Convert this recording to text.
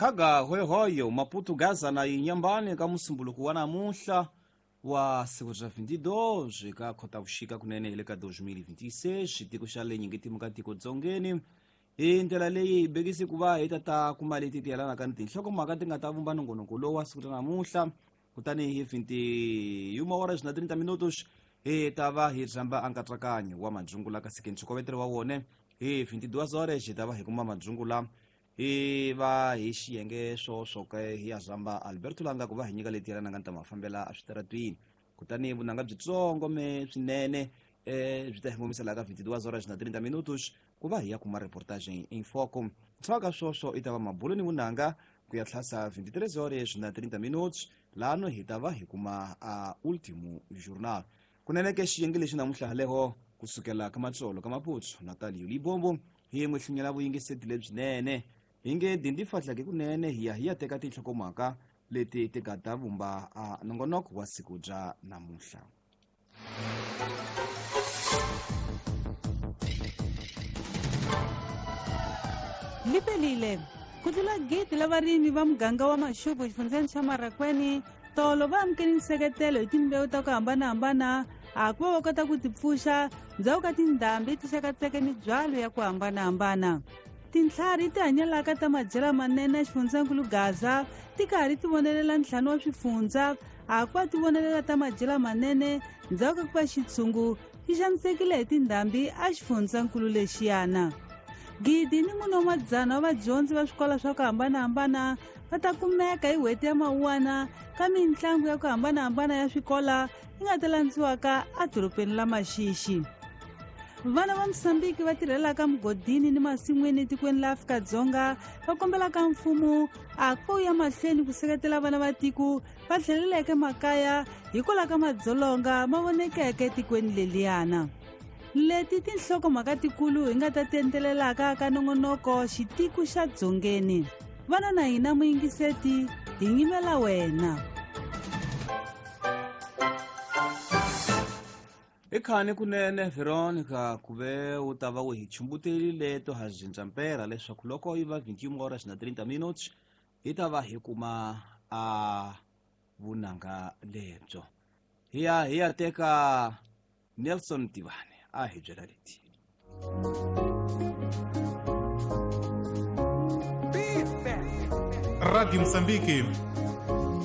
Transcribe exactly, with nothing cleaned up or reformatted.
Khaga hoyohoyo Maputo Gaza na Inhambane ka musumbuluko wa namuntlha wa siku bya vinte e dois ka Khotavuxika kunene hi le ka dois mil e vinte e seis tiko xa le nyingetimu ka tiko dzongeni. Hi ndlela leyi hi bekisi ku va hi ta ta kuma leti ti yelanaka ni tinhlokomhaka ti nga ta vumba nongonoko lowu wa siku ra namuntlha. Kutani hi vinte e uma horas na trinta minutos hi ta va hi rhamba nkatsakanyo wa madzungula, kasi ke ntshokovetelo wa wone hi vinte e duas horas hi ta va hi kuma madzungula hi va hi xiyenge swoswo ke hi ya rhamba Alberto Langa ku va hi nyika leti yelanaka ni ta mafambela eswitaratwini. Kutani vunanga byitsongo me swinene eh byi ta hi ngomisa laha ka vinte e duas horas na trinta minutos ku va hi ya kuma reportagem em foco. Ntswaka ka swoswo i ta va mabulo ni vunanga ku ya tlhasa vinte e três horas na trinta minutos, lano hi ta va hi kuma a Último Jornal. Kunene ke xiyenge lexi namuntlha haleho kusukela ka matsolo ka Maputo Natalio Libombo hi n'wi hlunyela vuyingiseti lebyinene hi nge dindi fahlake kunene hi ya hi ya teka tinhlokomhaka leti ti nga ta vumba a nongonoko wa siku bya namuntlha. Lipelile ku tlula gidi la varimi va muganga wa Maxupu xifundzeni xa Marakweni tolo va amukele nseketelo hi timbewu ta ku hambanahambana a ku va va kota ku tipfuxa ndzhaku ka tindhambi ti xakatseke mibyalo ya ku hambanahambana. Tintlhari ti hanyelaka ta madyela manene xifundzankulu Gaza ti karhi ti vonelela ntlhanu wa swifundza a ku va ti vonelela ta madyela manene ndzhaku ka ku va xitshungu xi xanisekile hi tindhambi a xifundzankulu lexiyana. Gidi ni mune wa madzana wa vadyondzi va swikolo swa ku hambanahambana va ta kumeka hi n'hweti ya Mawuwana ka mitlangu ya ku hambanahambana ya swikola yi nga ta landziwaka edorobeni la Maxixi. Vana va Mosambiki va tirhelaka mugodini ni masin'wini etikweni la Afrika-Dzonga va kombelaka mfumo a ku ya mahlweni ku seketela vana va tiko va tlheleleke makaya hikwalaho ka madzolonga ma vonekeke etikweni leliyana. Leti tinhlokomhaka tikulu hi nga ta ti endlelelaka ka nongonoko xitiku xa dzongeni. Vana na hina muyingiseti, hi nyimela wena. I khani kunene Veronica ku ve u ta va u hi chumbuterile to ha cinca mpera leswaku loko yi va vinte e uma horas na trinta minutos hi ta va hi kuma a vunanga lebyo. Hi ya hi ya teka Nelson Tivane a hi byela leti. Rádio Moçambique.